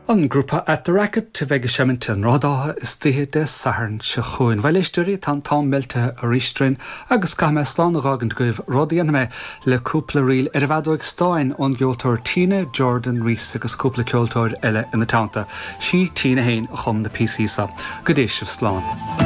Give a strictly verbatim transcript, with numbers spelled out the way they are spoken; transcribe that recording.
An grúpa At the Racket a bheidh ag seimint i nDroichead Átha istoíche Dé Sathairn seo chugainn. Bhuel a éisteoirí tá an t-am meiltithe arís orainn agus caithfidh mé slán a dh'fhágaint agaibh rud a dhéanfaidh mé le cúpla ríl ar an bhfeadóg stáin ón gceoltóir Tina Jordan Rees agus cúpla ceoltóir eile ina teannta. Sí Tina féin a chum na píosaí seo. Go dté sibh slán.